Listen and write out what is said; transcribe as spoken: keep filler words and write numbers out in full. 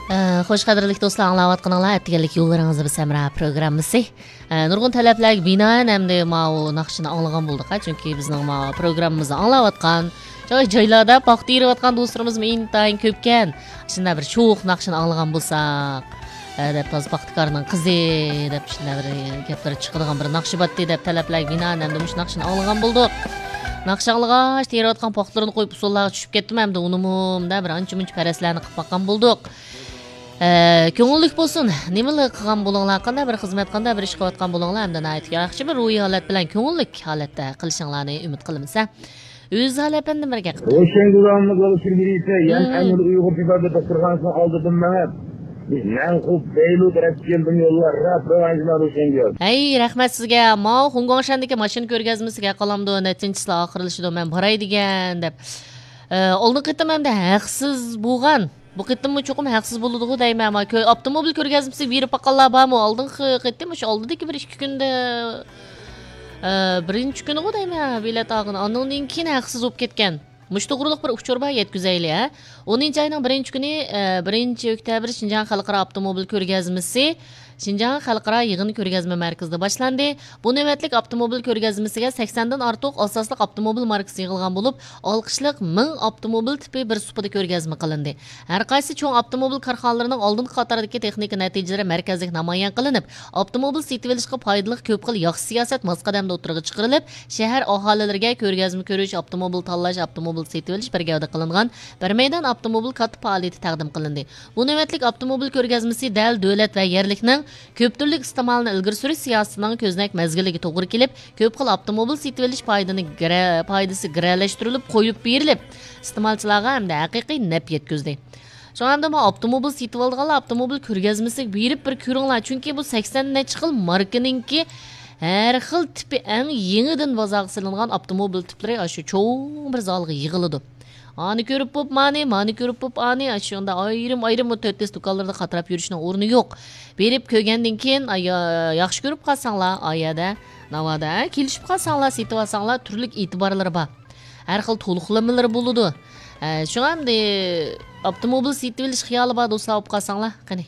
ئە، خوش، قەدىرلىك دوستلار، ئاڭلاۋاتقىنىڭلار ئەتىگەنلىك يوللىرىڭىزدا بىز ھەمراھ پروگراممىسى. ئە، نۇرغۇن تەلەپلەرگە بىنائەن ئەمدى ماۋۇ ناخشىنى ئاڭلىغان بولدۇق، ھە، چۈنكى بىزنىڭ ماۋۇ پروگراممىمىزنى ئاڭلاۋاتقان، جاي-، جايلاردا پاختا تېرىۋاتقان دوستلىرىمىزمۇ ئىنتايىن كۆپكەن. شۇنداق بىر شوخ ناخشىنى ئاڭلىغان بولساق، ھە، دەپ، تازا پاختىكارنىڭ قىزى دەپ شۇنداق بىر گەپلىرى چىقىدىغان بىر ناخشا بارتتى دەپ تەلەپلەرگە بىنائەن ئەمدى مۇشۇ ناخشىنى ئاڭلىغان بولدۇق. ناخشا ئاڭلىغاچ، تېرىۋاتقان پاختىلىرىنى قويۇپ، ئۇسسۇللارغا چۈشۈپ كەتتىم، ئەمدى ئۇنىمۇ مۇنداق بىر ئانچە-مۇنچە پەرەزلەرنى قىلىپ باققان بولدۇق. ئە، كۆڭۈللۈك بولسۇن. نېمىلا قىلغان بولۇڭلار، قانداق بىر خىزمەت، قانداق بىر ئىش قىلىۋاتقان بولۇڭلار، ئەمدى ناھايىتى ياخشى بىر روھىي ھالەت بىلەن، كۆڭۈللۈك ھالەتتە قىلىشىڭلارنى ئۈمىد قىلىمىز، ھە. ئۆزى ھالەت بىلەن نېمە گەپ قىلدى؟ روشەنگۈل ھەممە بولۇشى بىلىسە، يەنە مم. ئەمدى ئۇيغۇر تېبابەت دوختۇرخانىسىنىڭ ئالدىدىن مېڭىپ، مەن خۇپ بەيلۇ تەرەپكە كەلدىم يوللار، راپ راۋانجىما روشەنگۈل. ھەي، رەھمەت سىزگە. ماۋۇ خۇڭگۇاڭشەندىكى ماشىنا كۆرگەزمىسىگە قالامدۇ، نەچچىنچىسى ئاخىرلىشىدۇ، مەن باراي دېگەن دەپ. ئە، ئالدىنقى قېتىم ئەمدى ھەقسىز بولغان. بۇ قېتىممۇ چوقۇم ھەقسىز بولىدىغۇ دەيمەن. ما كۆ-، ئاپتوموبىل كۆرگەزمىسىگە بېرىپ باققانلار بارمۇ؟ ئالدىنقى قېتىم، شۇ ئالدىدىكى بىر ئىككى كۈندە، ئە، بىرىنچى كۈنىغۇ دەيمەن، بېلەت ئالغىنى. ئاندىن كېيىن ھەقسىز بولۇپ كەتكەن. مۇشۇ توغرۇلۇق بىر ئۇچۇر بار، يەتكۈزەيلى، ھە. ئونىنچى ئاينىڭ بىرىنچى كۈنى، ئە، بىرىنچى ئۆكتەبىر شىنجاڭ خەلقئارا ئاپتوموبىل كۆرگەزمىسى شىنجاڭ خەلقئارا يىغىن كۆرگەزمە مەركىزىدە باشلاندى. بۇ نۆۋەتلىك ئاپتوموبىل كۆرگەزمىسىگە سەكسەندىن ئارتۇق ئاساسلىق ئاپتوموبىل ماركىسى يىغىلغان بولۇپ، ئالقىشلىق مىڭ ئاپتوموبىل تىپى بىر سۇپىدا كۆرگەزمە قىلىندى. ھەر قايسى چوڭ ئاپتوموبىل كارخانىلىرىنىڭ ئالدىنقى قاتاردىكى تېخنىكا نەتىجىلىرى مەركەزلىك نامايان قىلىنىپ، ئاپتوموبىل سېتىۋېلىشقا پايدىلىق كۆپ خىل ياخشى سىياسەت ماس قەدەمدە ئوتتۇرىغا چىقىرىلىپ، شەھەر ئاھالىلىرىگە كۆرگەزمە كۆرۈش، ئاپتوموبىل تاللاش، ئاپتوموبىل سېتىۋېلىش بىر گەۋدە قىلىنغان بىر مەيدان ئاپتوموبىل كاتتا پائالىيىتى تەقدىم قىلىندى. بۇ نۆۋەتلىك ئاپتوموبىل كۆرگەزمىسى دەل دۆلەت ۋە يەرلىكنىڭ كۆپ تۈرلۈك ئىستېمالنى ئىلگىرى سۈرۈش سىياسىتىنىڭ كۆزنەك مەزگىلىگە توغرا كېلىپ، كۆپ خىل ئاپتوموبىل سېتىۋېلىش پايدىنى گىرە-، پايدىسى گىرەلەشتۈرۈلۈپ قويۇپ بېرىلىپ، ئىستېمالچىلارغا ھەمدە ھەقىقىي نەپ يەتكۈزدى. شۇڭا ئەمدى مانا ئاپتوموبىل سېتىۋالىدىغانلار ئاپتوموبىل كۆرگەزمىسىگە بېرىپ بىر كۆرۈڭلار، چۈنكى بۇ سەكسەن نەچچە خىل ماركىنىڭكى ھەر خىل تىپى ئەڭ يېڭىدىن بازارغا سېلىنغان ئاپتوموبىل تىپلىرى ئاشۇ چوڭ بىر زالغا يىغىلىدۇ. ئانى كۆرۈپ بوپ مانى، مانى كۆرۈپ بوپ ئانى، ئاشۇنداق ئايرىم-ئايرىم بۇ تۆت دېس دۇكانلىرىدا قاتراپ يۈرۈشنىڭ ئورنى يوق. بېرىپ كۆرگەندىن كېيىن، ئاي، يا-، ياخشى كۆرۈپ قالساڭلار، ئايەدە، ناۋادا، ھە، كېلىشىپ قالساڭلار، سېتىۋالساڭلار، تۈرلۈك ئېتىبارلىرى بار. ھەر خىل تولۇقلىمىلىرى بولىدۇ. ھە، شۇڭا ئەمدى ئاپتوموبىل سېتىۋېلىش خىيالى بار دوستلار بولۇپ قالساڭلار، قېنى،